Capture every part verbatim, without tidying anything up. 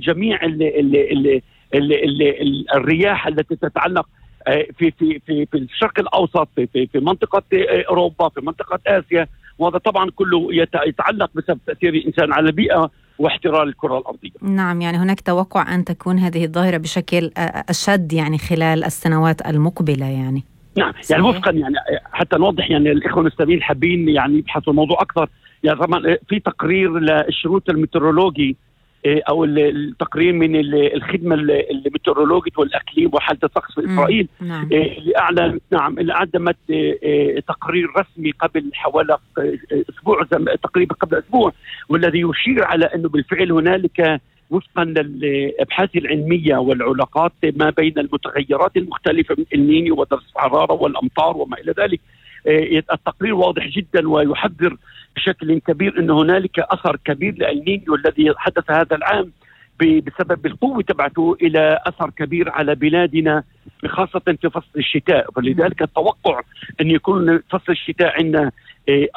جميع ال ال ال ال ال ال الرياح التي تتعلق في في في في الشرق الاوسط، في في في منطقه اوروبا، في منطقه اسيا، وهذا طبعا كله يتعلق بسبب تاثير الانسان على البيئه واحترار الكره الارضيه. نعم، يعني هناك توقع ان تكون هذه الظاهره بشكل اشد يعني خلال السنوات المقبله يعني. نعم صحيح. يعني وفقا يعني حتى نوضح يعني الاخوه المستمعين حابين يعني يبحثوا الموضوع اكثر، يعني طبعا في تقرير للشروط الميترولوجي او التقرير من الخدمه الميترولوجيه والاقليم وحاله الطقس في اسرائيل نعم. اللي اعلن نعم اللي قدمت تقرير رسمي قبل حوالي اسبوع تقريبا قبل اسبوع، والذي يشير على انه بالفعل هنالك وفقا للابحاث العلميه والعلاقات ما بين المتغيرات المختلفه من النينيو ودرجه الحراره والامطار وما الى ذلك. التقرير واضح جدا ويحذر بشكل كبير أن هنالك أثر كبير للنينيو الذي حدث هذا العام بسبب القوة تبعته إلى أثر كبير على بلادنا خاصة في فصل الشتاء، فلذلك التوقع أن يكون فصل الشتاء عندنا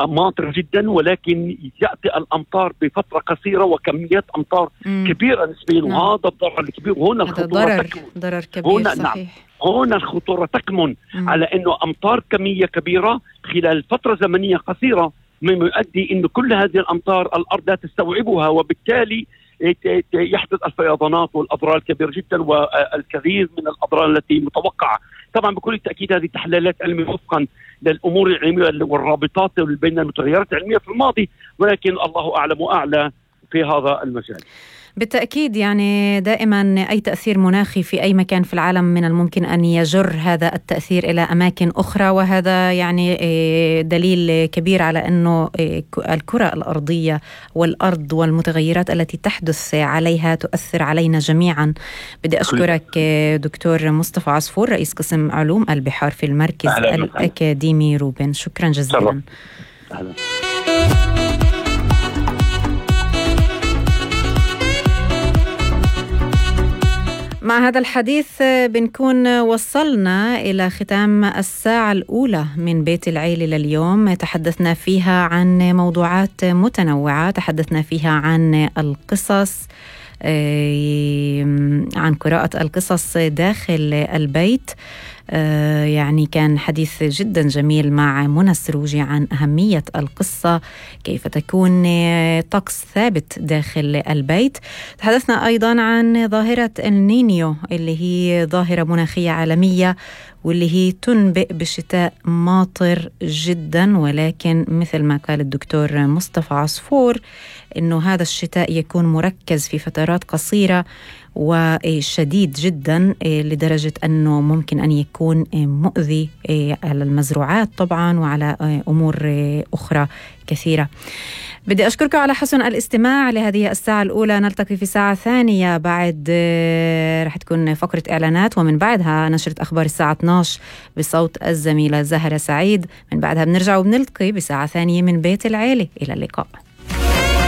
ماطر جدا، ولكن يأتي الأمطار بفترة قصيرة وكميات أمطار مم. كبيرة نسبيا، وهذا الضرر الكبير. هنا الخطورة ضرر تكمن ضرر كبير هنا صحيح. نعم. هنا الخطورة تكمن مم. على أنه أمطار كمية كبيرة خلال فترة زمنية قصيرة مما يؤدي أن كل هذه الأمطار الأرض لا تستوعبها، وبالتالي يحدث الفيضانات والأضرار الكبيرة جدا والكثير من الأضرار التي متوقعة. طبعا بكل تأكيد هذه تحليلات علمية وفقا للأمور العلمية والرابطات بين المتغيرات العلمية في الماضي، ولكن الله أعلم وأعلى في هذا المجال. بالتأكيد يعني دائما أي تأثير مناخي في أي مكان في العالم من الممكن أن يجر هذا التأثير إلى أماكن أخرى، وهذا يعني دليل كبير على أنه الكرة الأرضية والأرض والمتغيرات التي تحدث عليها تؤثر علينا جميعا. بدي أشكرك دكتور مصطفى عصفور رئيس قسم علوم البحار في المركز أهلا الأكاديمي روبن، شكرا جزيلا. أهلا. مع هذا الحديث بنكون وصلنا إلى ختام الساعة الأولى من بيت العيلة لليوم. تحدثنا فيها عن موضوعات متنوعة، تحدثنا فيها عن القصص، عن قراءة القصص داخل البيت. آه يعني كان حديث جدا جميل مع منى السروجي عن أهمية القصة، كيف تكون طقس ثابت داخل البيت. تحدثنا أيضا عن ظاهرة النينيو اللي هي ظاهرة مناخية عالمية، واللي هي تنبئ بشتاء ماطر جدا، ولكن مثل ما قال الدكتور مصطفى عصفور إنه هذا الشتاء يكون مركز في فترات قصيرة وشديد جدا لدرجة أنه ممكن أن يكون مؤذي على المزروعات طبعا وعلى أمور أخرى كثيرة. بدي أشكركم على حسن الاستماع لهذه الساعة الأولى. نلتقي في ساعة ثانية، بعد رح تكون فقرة إعلانات، ومن بعدها نشرة أخبار الساعة اثني عشر بصوت الزميلة زهرة سعيد. من بعدها بنرجع وبنلتقي بساعة ثانية من بيت العيلة. إلى اللقاء.